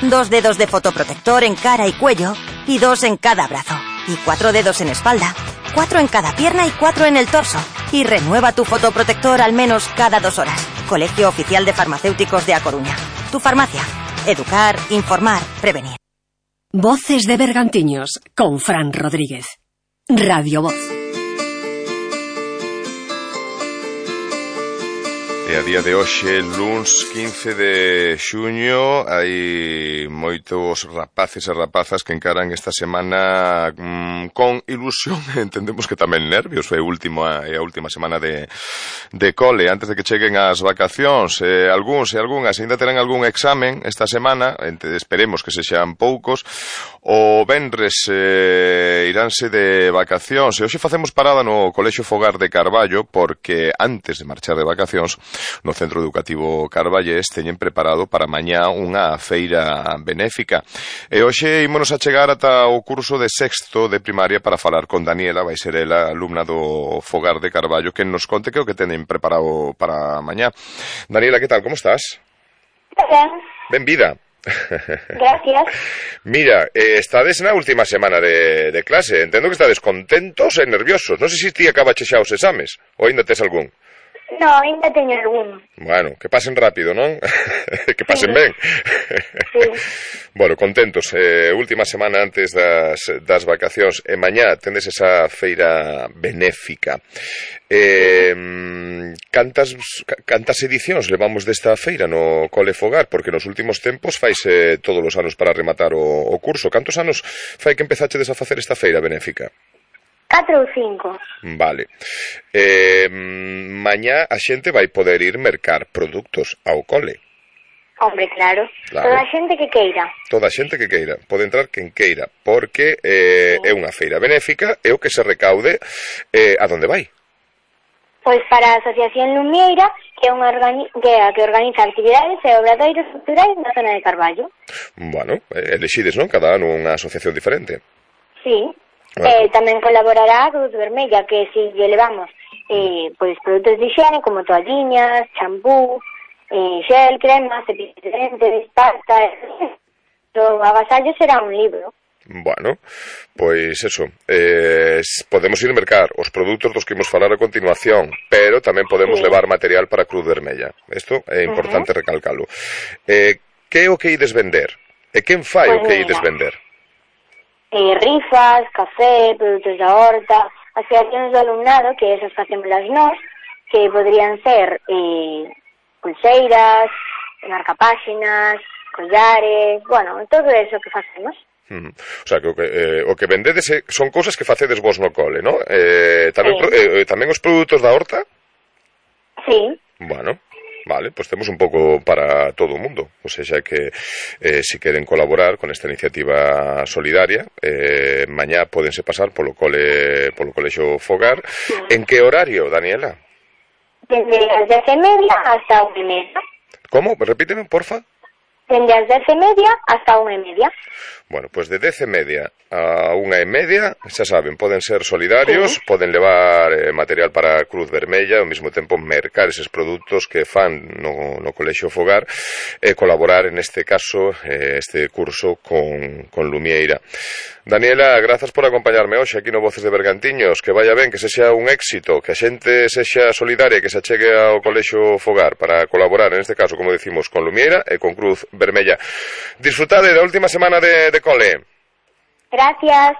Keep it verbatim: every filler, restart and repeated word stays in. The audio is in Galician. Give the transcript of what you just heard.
dos dedos de fotoprotector en cara y cuello y dos en cada brazo. Y cuatro dedos en espalda, cuatro en cada pierna y cuatro en el torso. Y renueva tu fotoprotector al menos cada dos horas. Colegio Oficial de Farmacéuticos de A Coruña. Tu farmacia. Educar, informar, prevenir. Voces de Bergantiños, con Fran Rodríguez. Radio Voz. E a día de hoxe, luns quince de xuño, hai moitos rapaces e rapazas que encaran esta semana mmm, con ilusión, entendemos que tamén nervios, é a última, é a última semana de, de cole, antes de que cheguen as vacacións. Eh, algúns e algunhas ainda terán algún examen esta semana, esperemos que sexan poucos. O venres eh, iránse de vacacións, e hoxe facemos parada no Colexio Fogar de Carballo, porque antes de marchar de vacacións, no Centro Educativo Carballés teñen preparado para mañá unha feira benéfica. E hoxe ímonos a chegar ata o curso de sexto de primaria para falar con Daniela, vai ser ela, alumna do Fogar de Carballo, que nos conte que o que teñen preparado para mañá. Daniela, que tal, como estás? Ben. Benvida. Gracias. Mira, eh, estades na última semana de, de clase, entendo que estades contentos e nerviosos. Non sei se ti acabache xa os exames, ou ainda tes algún. No, ainda teño algún. Bueno, que pasen rápido, non? Que pasen ben. Sí. Bueno, contentos. Eh, última semana antes das, das vacacións. E mañá tendes esa feira benéfica. Eh, cantas, cantas edicións levamos desta feira no Cole Fogar? Porque nos últimos tempos faise todos os anos para rematar o, o curso. Cantos anos fai que empezachedes a facer esta feira benéfica? Catro ou cinco. Vale. Eh, mañá a xente vai poder ir mercar produtos ao cole. Hombre, claro. Claro. Toda a xente que queira. Toda a xente que queira. Pode entrar quen queira. Porque eh, sí. É unha feira benéfica e o que se recaude eh, a donde vai? Pois para a Asociación Lumieira, que é unha organi que, a que organiza actividades e obradoiros culturais na zona de Carballo. Bueno, elexides, non? Cada ano unha asociación diferente. Sí. Eh, tamén colaborará a Cruz Vermella, que si lle levamos eh, pois produtos de higiene como toalliñas, champú, eh, gel, crema, cepillos de dentes, pasta, o agasallo será un libro. Bueno, pois eso, eh, podemos ir mercar os produtos dos que imos falar a continuación, pero tamén podemos sí. levar material para a Cruz Vermella. Isto é importante uh -huh. recalcalo. Eh, que é o que ides vender? E quen fai pues o que ides vender? Eh, rifas, café, produtos da horta, asociacións do alumnado, que esas facémolas nós, que podrían ser eh, pulseiras, marcapáxinas, collares, bueno, todo eso que facemos. Mm. O sea, que o que, eh, o que vendedes son cousas que facedes vos no cole, ¿no? Eh, tamén, sí. eh, tamén os produtos da horta? Sí. Bueno, vale, pues temos un pouco para todo o mundo. O sea, que eh, si queren colaborar con esta iniciativa solidaria, eh, mañá pódense pasar polo cole, polo Colexio Fogar. Sí. En que horario, Daniela? Desde as dez e media hasta unha e media. Como? Repíteme, porfa. Dende as dez e media hasta unha e media. Bueno, pues de dez e media a unha e media, xa saben, poden ser solidarios, sí. poden levar eh, material para a Cruz Vermella, ao mesmo tempo mercar eses produtos que fan no, no Colexio Fogar e colaborar, en este caso, eh, este curso con, con Lumieira. Daniela, grazas por acompañarme hoxe aquí no Voces de Bergantiños, que vaya ben, que sexa un éxito, que a xente sexa solidaria, que se achegue ao Colexio Fogar para colaborar, en este caso, como decimos, con Lumieira e con Cruz Vermella. Disfrutade da última semana de, de cole. Gracias.